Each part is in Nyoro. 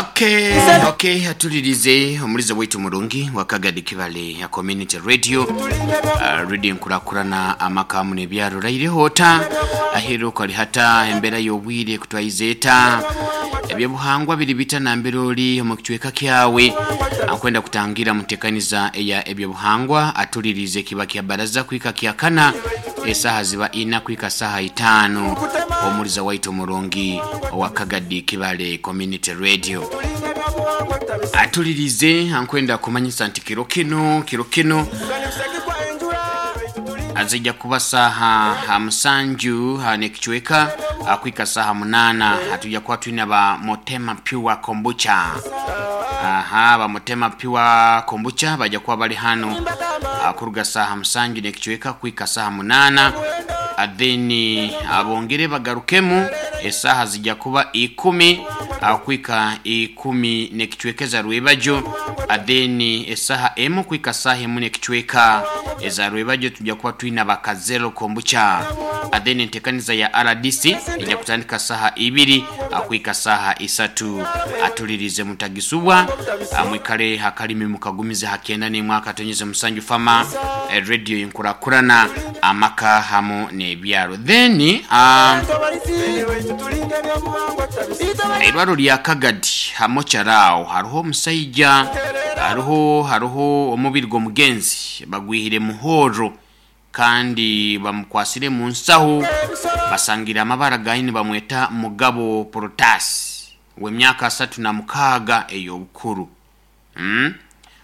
Okay, okay, atulirize omulizo waitu murungi wa Kagadi Kibale ya Community Radio, radio nkurakurana amaka muno ebyaro raireho ota aheru kali hata embera y'obwire kutwaize eta ebyobuhangwa biri bita nambere ori omu kicweka kyawe. Akwenda kutangira mutekaniza eya ebyobuhangwa atulirize kiba kya baraza kwika kya kana esaha ziba ina kwika saha 5 omuliza waitu murungi wa Kagadi Kibale Community Radio atulirize. Ankwenda kumanyisa nti kiro kino kiro kino azijja kuba saha 7 nekicweka akwika saha 8 hatujja kuba twina ba Motema Pure Kombucha. Aha, ba Motema Pure Kombucha bajja kuba bali hano akuruga saha 7 nekicweka kwika saha 8, atheni abongere bagarukemu esaha zijja kuba 10 akwika 10 nekicweka eza rwebajo, atheni esaha 1 kwika saha 1 nekicweka eza rwebajo tujja kuba twina bakazero kombucha, atheni entekaniza ya RDC ejja kutandika saha 2 akwika saha 3. Atulirize mutagisubwa, amwikale hakalimi mukagumize hakenda ni mwaka tonyeze musanju fama radio inkurakurana amaka hamu n'ebyaro. Then eirwaro lya Kagadi hamokyaraawo hariho omusaija, hariho omubiri gw'omugenzi bagwihire muhoro kandi bamukwasire mu nsaho, basangira amabara gaini bamweta Mugabo Protasi w'emyaka 36 ey'obukuru.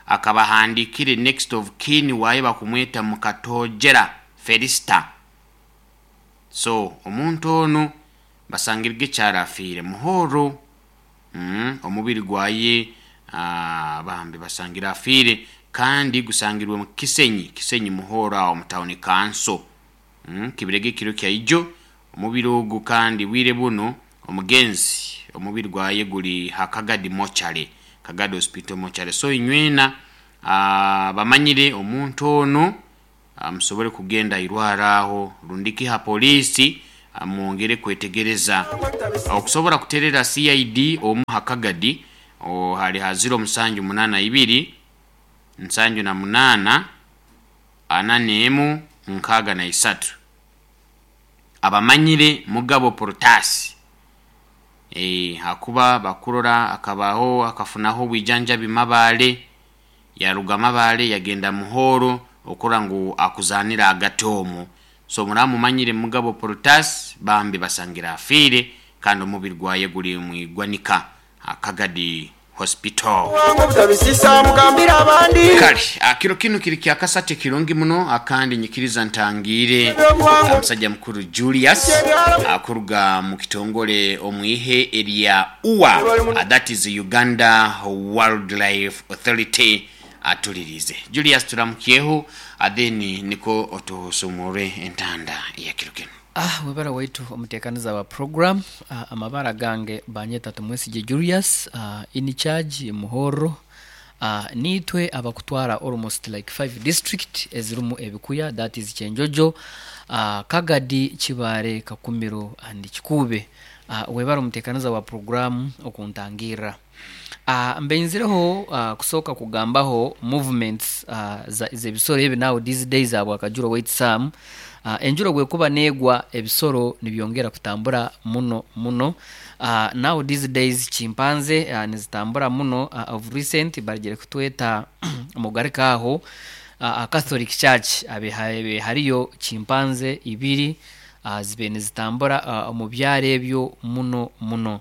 Akabahandikire next of kin waye bakumweta Mukatojera Felista. So omuntu ono basangirwe kyarafiire muhoro, omubiri gwaye bambi basangira afiire kandi gusangirwe mu Kisenyi muhoro awo mu town council, kibirege kiro kya ijo omubiri ogu. Kandi bwire buno omugenzi omubiri gwaye guli hakagadi mochare, Kagadi Hospital mochare. So inywena bamanyire omuntu ono, musobole kugenda irwara aho rundiki ha polisi, mwongere kwetegereza okusobola kuterera CID omu hakagadi hali ha 0782 78 41 63. Abamanyire Mugabo Protasi hakuba bakurora akabaho akafunaho bwijanjabi mabale yaruga mabale yagenda muhoro okura ngu akuzanira agati omwo. So muramumanyire Mugabo Protasi bambi basangira afiire kandi omubiri gwaye guli mwigwanika Kagadi Hospital. Kale akiro kino kiri kyakasate kirungi muno akandi nyikiriza ntangire omusajja mukuru Julius akuruga mu kitongole omwihe erya UWA, that is Uganda Wildlife Authority. Atulirize Julius turamukyeho atheni niko otusumure entanda ya kiro kino. Webara waitu omutekaniza wa program, amabara gange banyeta Tumwesige Julius, in charge Muhoro, nitwe abakutwara almost like 5 district ezirimu ebikuya, that is Kyenjojo, Kagadi, Kibare, Kakumiro and Kikube. Webara omutekaniza wa program okuntangira. Mbenzireho kusooka kugambaho movements z'ebisoro ebi now these days abo akajuro wait sam, enjuro bwekuba negwa ebisoro nibyongera kutambura muno muno. Now these days chimpanze nizitambura muno, of recent barigere kutweta mugarika aho Catholic Church abe hariyo chimpanze 2 zibe nizitambura omu byaro ebyo muno muno.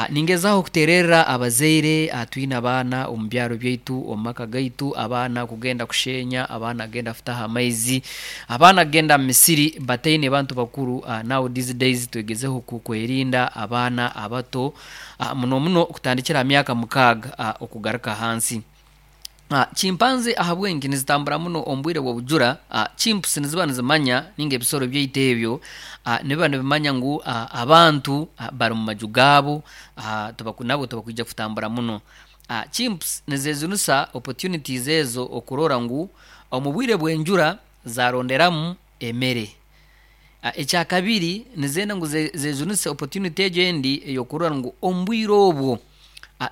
Ningezaho kuterera abazaire twine abaana omu byaro byaitu omu maka gaitu, abaana kugenda kushenya, abaana kugenda kutaha amaizi, abaana kugenda mu misiri bataine bantu bakuru. Now these days twegezeho kwerinda abaana abato, muno muno kutandikira myaka 6 okugaruka hansi. Chimpanze ahabwenki nizitambura muno omu bwire bw'obujura, chimps niziba nizimanya ninga ebisoro byaitu ebyo nibiba nibimanya ngu abantu bari mu maju gaabo, nabo tibakwija kutambura muno. Chimps nizezunusa opportunities ezo okurora ngu omu bwire bw'enjura zaronderamu emere. Ekyakabiri nizenda ngu zejunise opportunity egyo endi ey'okurora ngu omu bwire obwo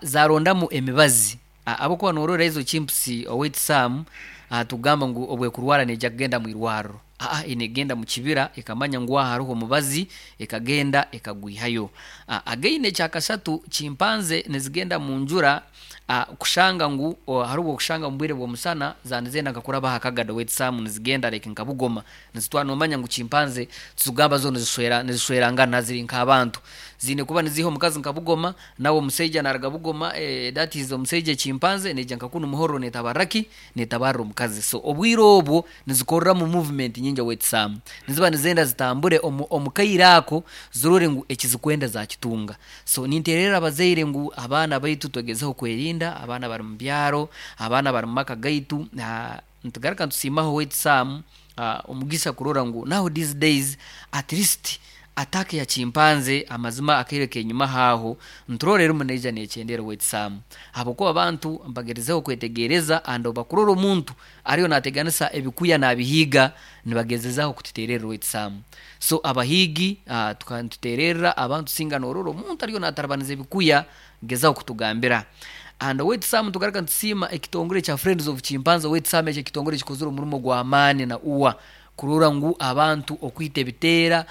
Zarondamu emibazi. Ahabwokuba norora ezo chimps, owaitu Sam, tugamba ngu obwekurwara neija kugenda mwirwarro. Negenda mukibira ekamanya ngu aha haroho omubazi, ekagenda ekagwihayo. Again ekyakasatu, chimpanze nizigenda munjura kushanga ngu hariho obwokushanga mubwire bw'omusana zaba nizenda nka kuraba aha kagado, owaitu Sam, nizigenda like nka Bugoma nizitwara. Nomanya ngu chimpanze tizikugamba zo nizishwerangana, ziri nk'abantu, ziine kuba niziiha omukazi nka Bugoma, nawe omusaija naruga Bugoma, that is omusaija chimpanze neija nka kunu Muhorro netabarra ki? Netabarra omukazi. So obwire obwo nizikoreramu movement nyingi, owaitu Sam. Niziba nizenda zitambure omu kaire ako zirore ngu ekizikwenda zakitunga. So nintererra abazaire ngu abaana baitu twegezeho kwerinda, abaana abari mu byaro, abaana abari mu maka gaitu. Nitugaruka nitusiimaho, owaitu Sam, omugisa kurora ngu now these days at least attack ya chimpanze, amazima akaire kenyumaho aho nturora erimu neija nekyendera, owaitu Sam, ahabwokuba abantu mbagerizeho kwetegereza and obubakurora omuntu ariyo nateganisa ebikuya nabihiiga, nibagezezaho kututererra, owaitu Sam. So abahiigi, nitutererra abantu, singa norora omuntu ariyo natarabaniza ebikuya, gezaho kutugambira. And owaitu Sam, nitugaruka nitusiima ekitongore kya Friends of Chimpanzee, owaitu Sam. Ekyo ekitongore kikozire omurimo gw'amaani na uwa kurora ngu abantu okwita ebiteera,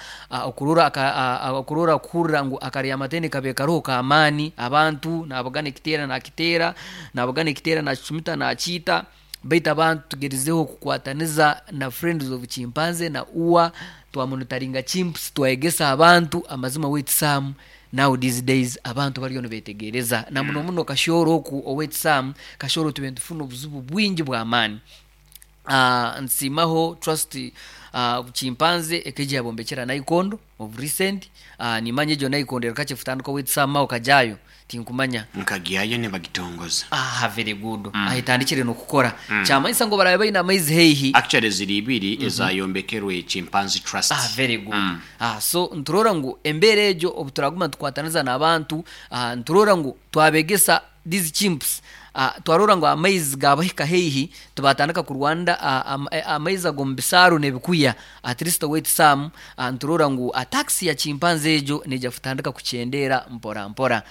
okurora kuhurira ngu akaryamatene kabe karoho k'amaani, abantu nabugana ekiteera nakiteera, nabugana ekiteera nakicumita nakiita. Baitu abantu tugerizeho kukwataniza na Friends of Chimpanzee na uwa twamonitaringa chimps, twayegesa abantu amazima, owaitu Sam. Now these days abantu bariyo nibetegereza, na muno muno Kashooro oku, owaitu Sam. Kashooro tube nitufuna obuzibu bwingi bw'amaani. Nsiimaho Trust Chimpanzee ekaija yabombekyera Naikondo of recent. Nimanya egyo Naikondo eri kakye futandika, owaitu Sam, okajayo tinkumanya. Nkagyayo nibagitongoza. Aha, very good. Aha etandikire nokukora, kyamanyisa ngu barabe baine amaizi haihi. Actually ziri ibiri ezayombekerwe Chimpanzee Trust. Ah, very good. So niturora ngu embeera egyo obuturaguma nitukwataniza n'abantu, niturora ngu twabegesa these chimps, twarora ngu amaizi gabahika haihi, tibatandika kurwanira amaizi ag'omu bisaaru n'ebikuya. At least, owaitu Sam, niturora ngu attacks ya chimpanzee egyo neija kutandika kukyendeera mpora mpora.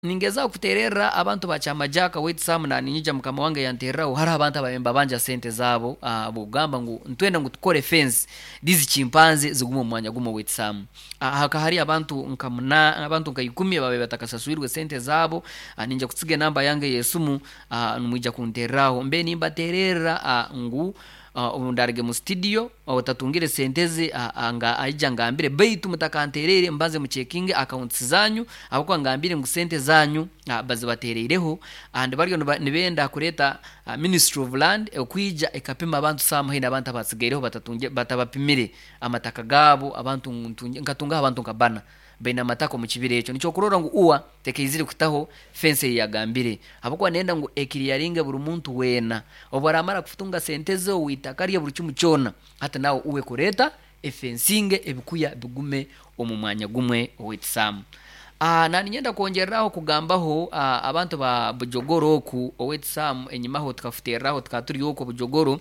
Ningezaho kutererra abantu ba Kyamajaka, owaitu Sam, naninyija mukama wange yantereraho hariho abantu ababaire nibabanja sente zaabo bwokugamba ngu nitwenda ngu tukore fence, these chimpanzee zigume omu mwanya gumwe, owaitu Sam. Hakaba hariyo abantu nka muna, abantu nka ikumi ababaire batakasaswirwe sente zaabo. Ninja kutsiga enamba yange ey'esimu, nimwija kuntereraho mbe nimbatererra ngu obu ndaruge mu studio, otatungire sente ze nga aija angambire, baitu mutakantereire, mbanze mucekinge accounts zanyu, ahabw'okuba ngambire ngu sente zanyu bazibatereireho and bariyo nibenda kureeta Ministry of Land okwija ekapima abantu some haine abantu abatsigaireho batabapimire amataka gaabo. Abantu nkatungaho abantu nka bana baine amataka omu kibira ekyo. Nikyo okurora ngu UWA tekaizire kutaho fence ei yagambire, ahabw'okuba nenda ngu ekiriyaringe buri muntu weena obu aramara kutunga sente ze ow'itaka rye buri kimu kyona, hati nawe uwe kureeta efensinge ebikuya bigume omu mwanya gumwe, owaitu Sam. Naninyenda kwongereraho kugambaho abantu ba Bujogoro oku, owaitu Sam. Enyimaho tukafuterraho tukaba turi oku Bujogoro,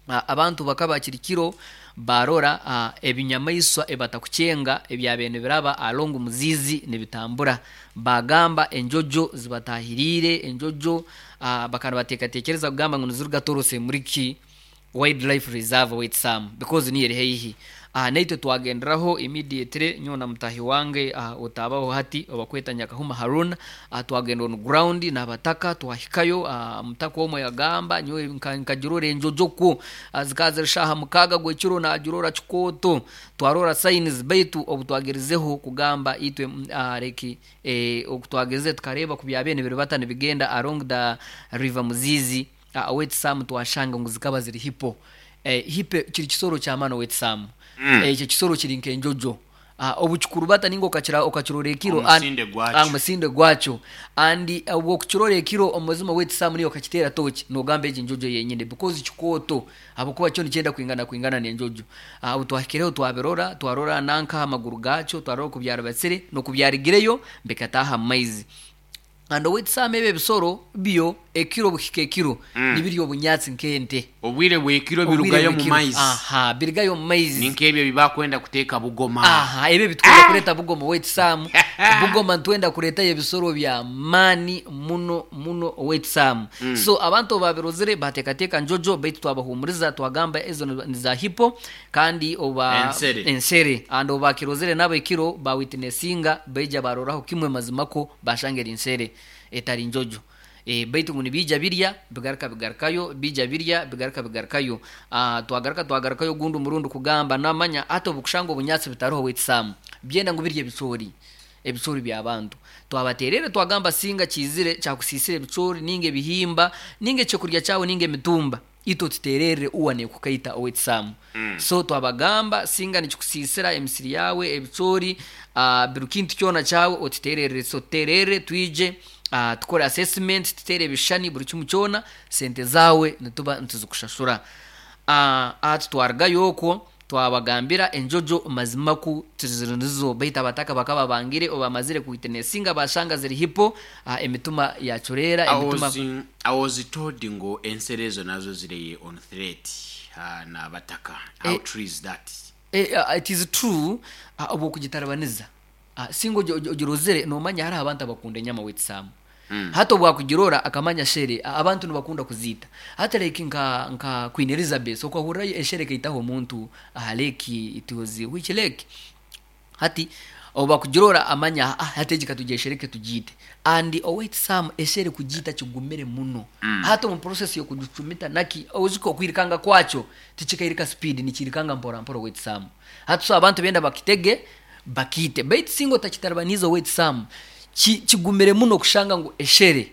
abantu bakaba kiri kiro barora ebinyamaiswa ebatakucenga ebyabaire nibiraba along Muzizi nibitambura, bagamba enjojo zibatahiriire. Enjojo bakaba nibateekateekyereza kugamba ngu niziruga Torose Muriki Wildlife Reserve, owaitu Sam, because niyo eri haihi. Naitwe twagenderaho immediately, nyowe na mutahi wange otaabaho hati obakweta Nyakahuma Haruna, twagenda on ground n'abataka, twahikayo. Omutaka omwe yagamba, nyowe nkagirora enjojo kwo, zikaba ziri shaaha 6 gw'ekiro, nagirora kikooto, twarora signs. Baitu obu twagerizeho kugamba itwe like oku twagerize tukareeba ku byabaire nibiribata nibigenda along the river Muzizi, owaitu Sam, twashanga ngu zikaba ziri hippo. Hippo kiri kisoro ky'amaani, owaitu Sam. Ekyo kisoro kiri nk'enjojo. Obukikurubata ninga okakirora ekiro Omusinde gwakyo. Omusinde gwakyo and obu okukirora ekiro, omumazima, owaitu Sam, niyo okakiteera toki nogamba egi njojo yenyine because kikooto, ahabw'okuba kyo nikyenda kwingana kwingana n'enjojo. Obu twahikireho twabirora, twarora nanka amaguru gakyo, twarora oku byaribatsire n'oku byarigireyo bikataaha mu maizi. And owaitu Sam, ebi ebisoro byo Ekiro obuhika ekiro nibirya obunyatsi nk'ente. Obwire bw'ekiro Obwire birugayo omu bw'ekiro. maizi. Aha, birugayo omu maizi. Ni nk'ebyo ebi bakwenda kuteeka Bugoma. Aha, ebyo ebitwenda kureeta Bugoma owaitu Sam. Bugoma nitwenda kureetayo ebisoro by'amaani muno muno owaitu Sam. So abantu obu baabirozire baateekateeka njojo baitu twabahuumuriza twagamba ezo ni za hippo kandi obu Ensere. Ensere. And obu baakirozire nabo ekiro baawitinesinga baija baaroraho kimwe mazima kwo baashanga eri nsere etari njojo. Baitu ngu nibiija birya bigaruka bigarukayo, biija birya bigaruka bigarukayo. Twagaruka twagarukayo ogundi omurundi kugamba namanya hati obukushanga obunyatsi butaruho waitu Sam, byenda ngu birye ebicoori, ebicoori by'abantu. Twabatererra twagamba singa kiizire kyakusiisira ebicoori ninga ebihimba ninga ekyokurya kyawe ninga emitumba, itwe otutererre uwa nekukaita owaitu Sam. So twabagamba singa nikikusiisira emisiri yawe, ebicoori, buri kintu kyona kyawe otutererre. So tutererre twije tukore assessment, tuteere ebishushani buri kimwe kyona, sente zaawe nituba nituzikushashura. Hati twarugayo okwo twabagambira enjojo mazima ku tiziri nizo baitu abataka bakaba bangire obu bamazire kuwitinesinga bashanga ziri hippo, emitima yacureera, emitima. I was told ngu ensero ezo nazo ziri on threat n'abataka. How true is that? It is true obu okugitarabaniza singa ogirozire nomanya hariho abantu abakunda enyama waitu Sam. Hati obu akugirora akamanya shere abantu nibakunda kuziita. Hati like nka Queen Elizabeth okahurrayo eshere ekaitaho omuntu aha lake, it was which lake? Hati obu bakugirora amanya hati egi katugyeshereke tugiite. And owaitu Sam eshere kugiita kigumire muno. Hati omu process y'okugicumita naki oijuke okwirukanga kwakyo tikikairika speed nikiirukanga mpora mpora owaitu Sam. Hati so abantu benda bakitege bakiite. Baitu singa otakitaribaniize owaitu Sam, kigumire muno kushanga ngu eshere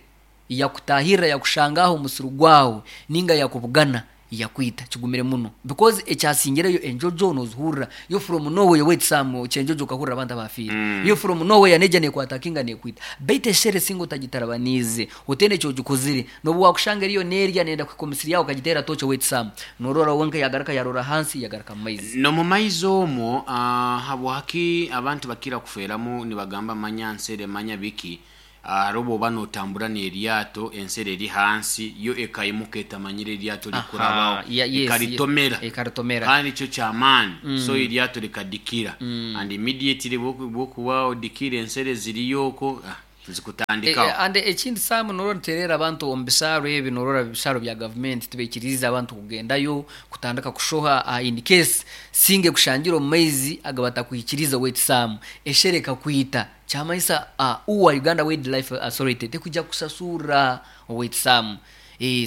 yakutahirra yakushanga aho omusiri gwawe ninga yakubugana yakwita. Kigumire muno because ekyasingireyo enjojo nozihurra yo from nowhere owaitu Sam kyenjojo okahurra abantu abafiire. Yo from nowhere neija nekwatakinga nekwita. Baitu eshere singa otagitaribaniize otaine ekyogikozire nobu wakushanga eriyo nerya neyenda kuhika omusiri yawe okagiteera tochi owaitu Sam norora wenka yagaruka yarora ahansi yagaruka mumaizi. N'omu maizi omwo, habwaki abantu bakira kufeeramu nibagamba manya nsere manya biki? Hariho obu oba nootambura n'eryato ensere eri hansi yo ekaimuka etamanyire eryato rikurabaho ekaritomera Ekaritomera. Kandi kyo ky'amaani so eryato rikadikira and immediately obu okuba odikire ensere ziriyo okwo zikutandikaho. And ekindi Sam norora nitutererra abantu omu bisaaro ebi norora ebisaaro bya gavumenti tibaikiriize abantu kugendayo kutandika kushoha in case singa ekushangire omu maizi agabatakwikiriize owaitu Sam eshere ekakwita kyamanyisa uwa Uganda Wildlife Authority tekwija kukusasurra owaitu Sam.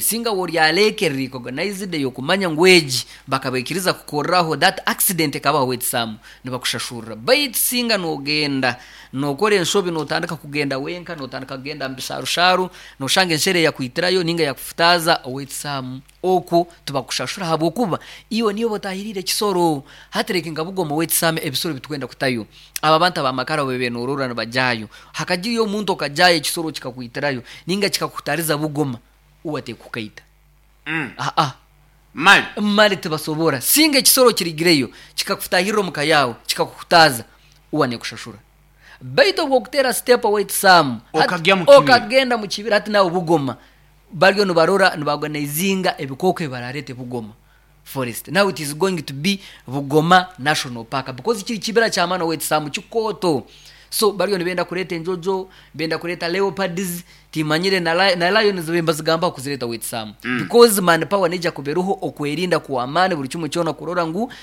Singa woryaleka eri recognized eyokumanya ngu egi bakabaikiriza kukorraho that accident ekabaho owaitu Sam nibakushashurra baitu singa nogenda nokora enshobi notandika kugenda wenka notandika kugenda omu bisharusharu noshanga enshere yakwitirayo ninga yakufutaaza owaitu Sam okwo tibakushashura ahabwokuba iwe niiwe otahiriire ekisoro. Hati reka nka Bugoma owaitu Sam ebisoro ebitukwenda kutayo aba abantu abamakara obu benorora nibajaayo hakagirayo omuntu okajaayo ekisoro kikakwitirayo ninga kikakutariza Bugoma uwe atekukaita. Aa. Mali. Mali tibasobora. Singa ekisoro kirigireyo kikakutahirra omuka yaawe kikakukutaaza uwe nekushashura. Baitu obu okuteera step owaitu Sam hati Okagya mu kibira. Okagenda mu kibira hati nawe Bugoma bariyo nibarora nibaorganizinga ebikooko ebi barareete Bugoma forest. Now it is going to be Bugoma National Park because kiri kibira ky'amaani owaitu Sam kikooto. So bariyo nibenda kureeta enjojo, benda kureeta leopards, timanyire na lions nibazigambaho kuzireeta owaitu Sam. Because manpower neija kuba eriho okwerinda kw'amaani buri kimwe kyona kurora ngu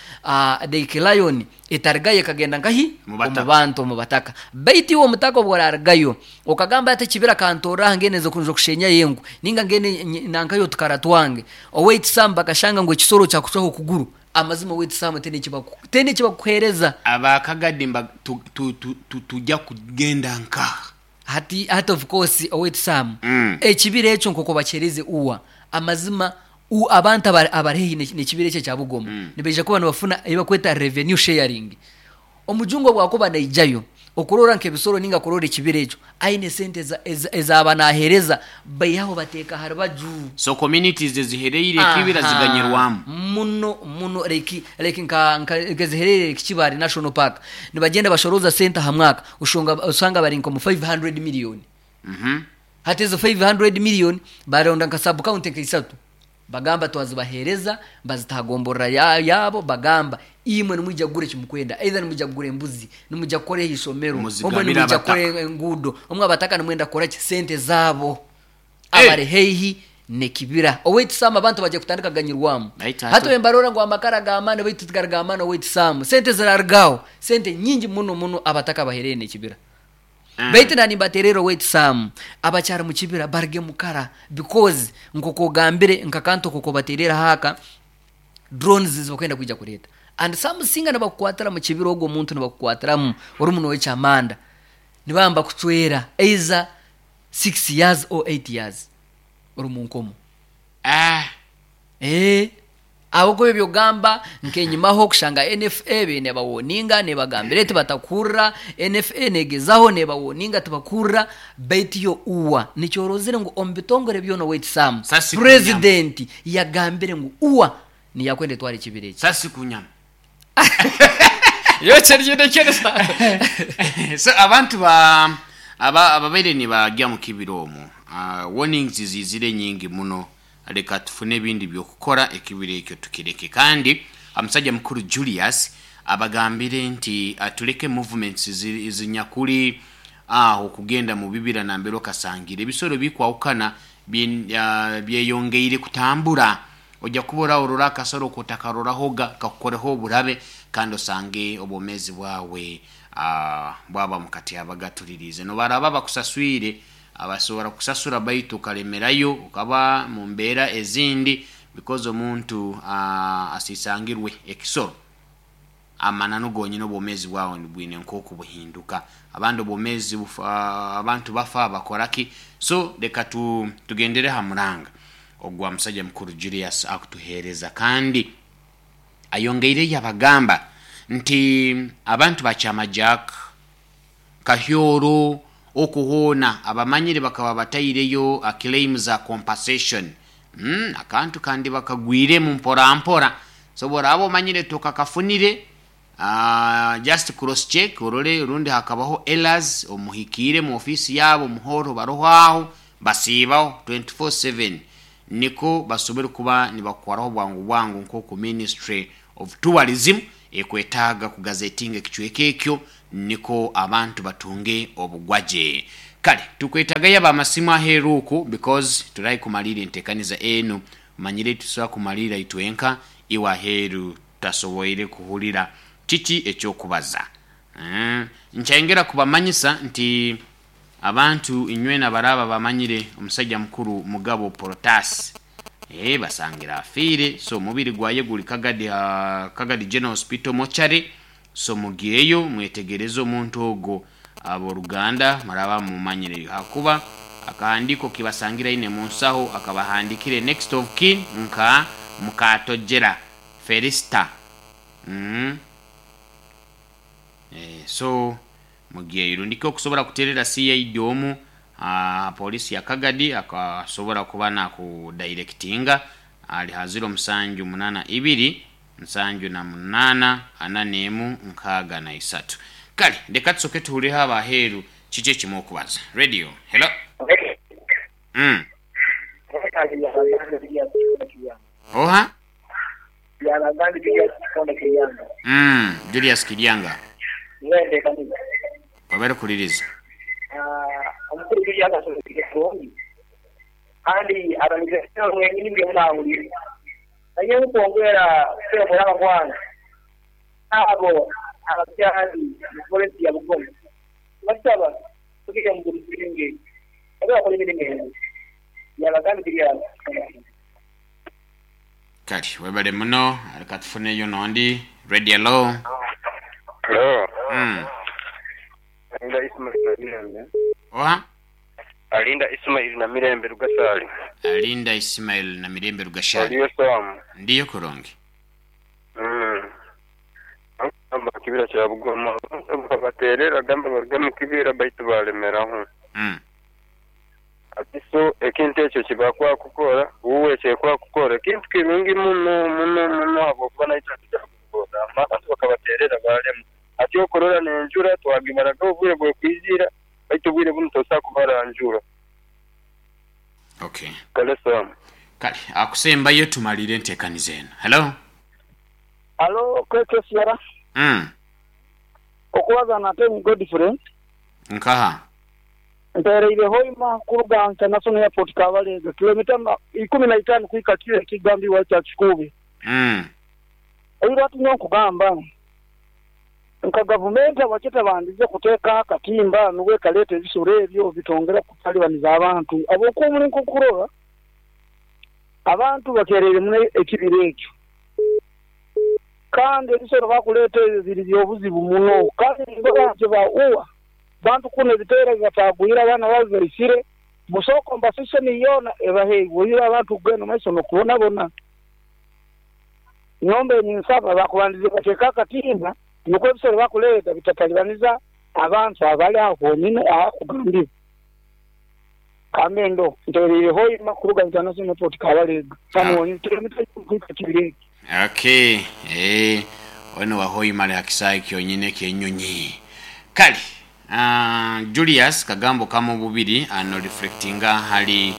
like lion etarigayo ekagenda nkahi? Mu bataka. Omu bantu, omu bataka. Baitu iwe omutaka obu orarigayo okagamba ati ekibira kantorre aha ngende nze kushenyayo enku ninga ngende nankayo otukara twange. Owaitu Sam bakashanga ngu ekisoro kyakucwaho okuguru. Amazima owaitu Sam tihaine eki bakukuheereza. Aba Kagadi tujja kugenda nkaha? Hati of course owaitu Sam, ekibira ekyo nk'oku bakiheereze uwa, amazima abantu abari haihi n'ekibira ekyo ekya Bugoma nibaija kuba nibafuna ebi barikweta revenue sharing. Omujungu obu akuba naijayo okurora nk'ebisoro ninga kurora ekibira ekyo, aine sente ezaaba naaheereza baihaho bateeka aha rubaju. So communities ezihereire ekibira ziganyirwamu? Muno muno like like nka nka ezihereire Lake Kibale National Park nibagyenda bashorooza sente aha mwaka oshanga bari nka omu 500 million. Hati ezo 500 million baronda nka sub county nka isatu, bagamba twazibahereza, bazitagomborra yabo, bagamba imwe nimwija kugura ekimukwenda, either nimwija kugura embuzi, nimwija kukora ishomero, omwe Muzigabire nimwija abataka. kukora enguudo, omwe abataka nimwenda kukora ki, sente zaabo. Eh. Abari haihi nekibira owaitu Sam, abantu bajya kutandika kuganyirwamu. Baitu Hati wembarora ngu amakara g'amaani, baitu tigari g'amaani. Owaitu Sam, sente zirarigaho, sente nyingi muno muno, abataka bahereye nekibira. Baitu nani mbaterera owaitu Sam, abakyari mu kibira barige mukara, because nk'oku ogambire nkakantu koko baterera haka drones zibakwenda kwija kureeta, and some singa nibakukwatira mu kibira, ogwo omuntu nibakukwatiramu ori muno w'ekyamanda, nibamba kucwera either 6 years or 8 years ori mu nkomo. Ah. Ahabwokuba ebyogamba nkenyimaho kushanga NFA beine bawoninga, nebagambira eti batakurra. NFA negezaho nebawoninga, tibakurra. Baitu yo uwa nikyorozire ngu omu bitongore byona, owaitu Sam, Sasi president yagambire ngu uwa niyakwenda etwara ekibira eki. Sasi kunyama. Yo kyeri. So abantu ba aba ababaire nibagya mu kibira omwo, warnings zizire nyingi muno. Reka tufune ebindi byokukora, ekibira ekyo tukireke. Kandi omusajja mukuru Julius abagambire nti tuleke movements zinyakuli aho kugenda mu bibira nambere okasangira ebisoro bikwahukana byeyongeire kutambura. Ojja kuba orora akasoro kotakarorahoga kakukoreho oburabe, kandi osange obwomezi bwawe bwaba mukati abagatulirize. Nobaraba bakusaswire, abasobora kusasura, baitu okalemerayo okaba mu mbeera ezindi, because omuntu asisangirwe ekisoro, amananu gonyine obwomezi bwawe bwine nk'oku buhinduka. Abandi obwomezi abantu bafa bakoraki. So reka tugendere ha muranga ogwa musajja mukuru Julius akutuheereza. Kandi ayongeire yabagamba nti abantu bakyama Jack Kahyoro okuhoona abamanyire bakaba bataireyo claim za compensation, akantu kandi bakagwiremu mpora mpora. So boraba omanyire tokakafunire, just cross check orole rundi hakabaho errors, omuhikiire mu ofisi yabo muhoro, baroho aho basiibaho 24/7, niko basobole kuba nibakukwaraho bwangu bwangu nk'oku Ministry of Tourism ekwetaaga kugazetinga ekicweka ekyo, niko abantu batunge obugwaje. Kale tukwetagayo abamasimu aheeru oku, because turahi kumalira entekaniza enu. Manyire tusobola kumalira itwenka, iwe aheeru tutasoboire kuhurira kiki ekyokubaza. Nkyayongera kubamanyisa nti abantu inywena baraba bamanyire omusajja mukuru Mugabo Protasi, basangira afiire. So omubiri gwaye guli Kagadi, Kagadi General Hospital mochari. So mugiyeyo mwetegereze omuntu ogwo. Abooluganda muraba mumanyire, hakuba akahandiko kibasangira ine munsaho akabahandikire next of kin nka Mukatojera Felista. So mugiyeyo rundiki okusobola kuterera CID omu polisi ya Kagadi, akasobora kuba nakudirectinga ali ha 0782 78 41 63. Kale leka tusoke tuhulireho abaheeru kiki ekimu okubaza. Radio, hello. Oha. Julius Kiryanga wabere kuliriza. Omukuru Julius asoboire kurungi kandi abalize wenyini buli omu nahurira. Naye nkwongera kusembura abakwana abo abakyali mu forest ya Bugoma, basaba kugira ngu businge babe bakora emirimo eno yabagambi Julius. Kale webale muno. Leka tufuneyo nondi. Radio, hello. Hello. Alinda Ismail na Mirembe. Oha. Alinda Ismail na Mirembe Rugasali. Alinda Ismail na Mirembe Rugashali. Oliyo Sam. Ndiyo kurungi. Amba kibira kya Bugoma baterera gamba baruga mu kibira baitu balemeraho. Ati so ekintu ekyo kibakwa kukora uwe kyekwa kukora ekintu kirungi muno muno muno, habwokuba naitwe tujakukora abantu bakabaterera balema. Ati okurora nenjura twagimaraga obwire bwekwizira, baitu obwire bunu tosobola kubara njura. Okay. Kale Sam. Kale akusembayo tumalire enteekaniza eno. Hello. Halo KKCR. Okubaza na Temi Godfrey. Nkaha? Mpereire Hoima kuruga International Airport Kabalega, kilomita 15 kuhika kiro ekigambibwa ekya Kikuube. Oira ati nyowe nkugamba nka gavumenti habwaki etabandize kuteekaho akatimba nubwo ekaleeta ebisoro ebyo bitongera kutalibaniza abantu habwokuba omuli nk'okurora abantu bakereire muno ekibira ekyo kandi ebisoro bakuleeta ebyo biri by'obuzibu muno kandi nindora nti ba uwa bantu kunu ebiteera bibatagwire abaana babibaisire busaho compensation yoona ebaheibwe oihireho abantu kugenda omu maiso n'okubonabona. Nyowe mbaire ninsaba bakubandize bateeke akatimba nukwo ebisoro bakuleeta bitatalibaniza abantu abali aho honyini ahakugambibwa. Kambe ndo ntereire Hoima kuruga International Airport Kabalega hanu honyini kilomita ikumi kuhika kibira eki. Okay, eeh ono wa Hoima ali ha kisaayi kyonyini eky'enyonyi. Kale Julius kagambo kamu bubiri ano reflectinga hali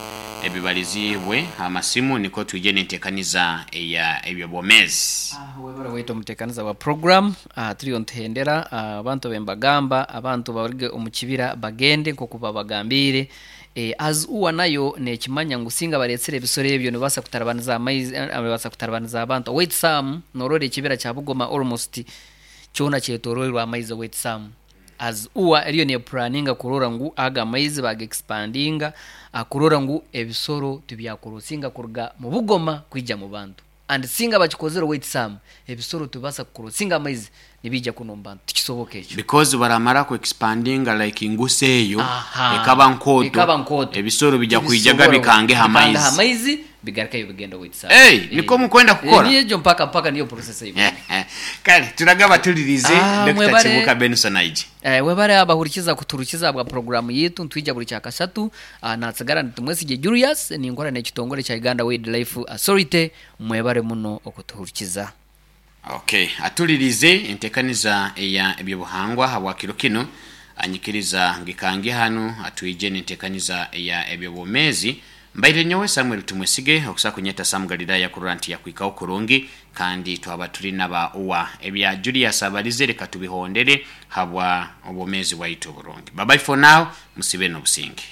ebibaliziibwe amasimu nikwo twije n'enteekaniza eya eby'obwomeezi. Webale waitu omutekaniza wa program. Turiyo nituhendera abantu abe mbagamba abantu baruge omu kibira bagende nkoku babagambiire. As ua nayo nekimanya ngu singa baretsire ebisoro ebyo nibibaasa kutarabaniza amaizi nibibaasa kutarabaniza abantu. Owaitu Sam norora ekibira kya Bugoma almost kyona kyetoroirwe amaizi owaitu Sam. As ua eriyo nepuraninga kurora ngu ago amaizi baga expandinga kurora ngu ebisoro tibyakurosinga kuruga mu Bugoma kwija mu bantu. And singa bakikozire owaitu Sam, ebisoro tibibasa kukurosinga amaizi nibiija kunu omu bantu. Tikisoboka ekyo. Because baramara ku expandinga like ngusa eyo Aha. ekaba nkooto, Ekaba nkooto. ebisoro bija kwijaga Tibisobora bikangeho bikangeho amaizi. amaizi bigarukeyo bigende owaitu Sam. Hey, nikwo mukwenda kukora? Niyo egyo mpaka mpaka niyo process ei barimu. Kale turagaba tulirize Ah, Dokita mwebare. Kibuuka Benson aije. Webare abahurikiza kutuhurikiza ahabwa puroguraamu yaitu nitwija buri Kyakashatu. Natsigara ndi Tumwesigye Julius, ninkora n'ekitongore kya Uganda Wildlife Authority. Mwebare muno okutuhurikiza. Okay, atulirize entekaniza eya eby'obuhangwa habwa kiro kinu. Anyikiriza ngikange hanu atwije n'entekaniza eya eby'obwomeezi. Mbaire nyowe Samuel Tumwesige okusa kunyeta Sam Galilaya kurora nti yakwikaho kurungi kandi twaba turi naba uwa ebya Julius abalize leka tubihondere habwa obwomeezi bwaitu oburungi. Bye bye for now, musibe n'obusinge.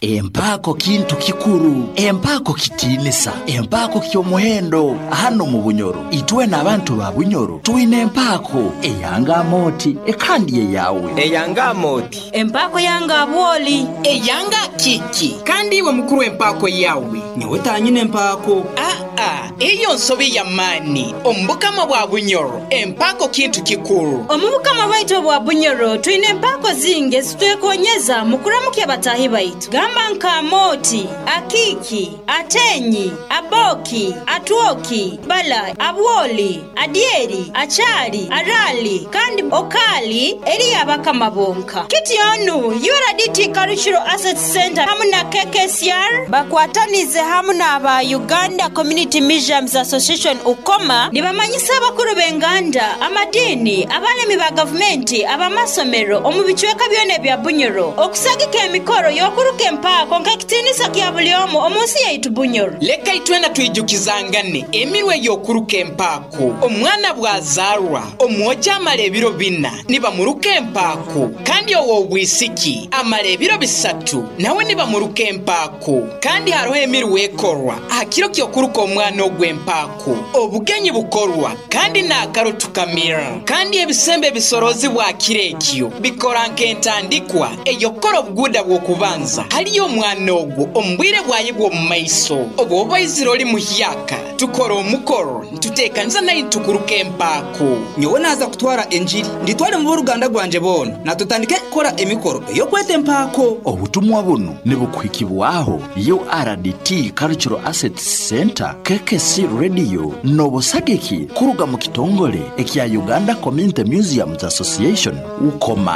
Empaako kintu kikuru. Empaako kitiinisa. Empaako ky'omuhendo hanu omu Bunyoro. Itwena abantu ba Bunyoro twine empaako eyanga Amooti kandi eyawe. Eyanga Amooti. Empaako yange Abwoli. Eyanga Akiiki. Kandi iwe mukuru empaako yawe? Nyowe tanyine empaako. Aa, eyo nsobi ya maani. Omu Bukama bwa Bunyoro, empaako kintu kikuru. Omu Bukama bwaitu obwa Bunyoro, twine empaako zingi ezitwekonyeza mu kuramukya bataahi baitu. Gamba nka Amooti, Akiiki, Atenyi, Aboki, Atwoki, Bala, Abwoli, Adyeri, Achari, Arali, kandi Okali eri y'Abakama bonka. Kityo nu, URDT Cultural Assets Centre hamu na KKCR bakwatanize hamu n'aba Uganda Community Museums Association, UCOMA, nibamanyisa abakuru b'enganda, amadiini, abalemi ba gavumenti, ab'amasomero omu bicweka byona ebya Bunyoro okusagika emikoro y'okuruka empaako nk'ekitiinisa kya buli omu omu nsi yaitu Bunyoro. Leka itwena twijukizangane emirwa ey'okuruka empaako. Omwana bw'azaarwa, omwojo amara ebiro bina nibamuruka empaako, kandi ow'obwisiki amara ebiro bisatu nawe nibamuruka empaako. Kandi haroho emirwa ekorwa aha kiro ky'okuruka omwana ogwo empaako. Obugenyi bukorwa kandi n'akaro tukamira. Kandi ebisembo ebisoroozibwa aha kiro ekyo bikora nk'entandikwa ey'okukora obuguuda bw'okubanza hali omwana ogwo omu bwire bwaye bw'omu maiso. Obu oba oizire ori muhyaka, tukora omukoro nituteekaniza nari nitukuruka empaako. Nyowe naaza kutwara engiri, ngitware mu b'oruganda rwangye boona, na tutandike kukora emikoro ey'okweta empaako. Obutumwa bunu nibukuhikibwaho URDT Cultural Assets Centre, KKC Radio n'obusagiki kuruga mu kitongole ekya Uganda Community Museums Association, UCOMA.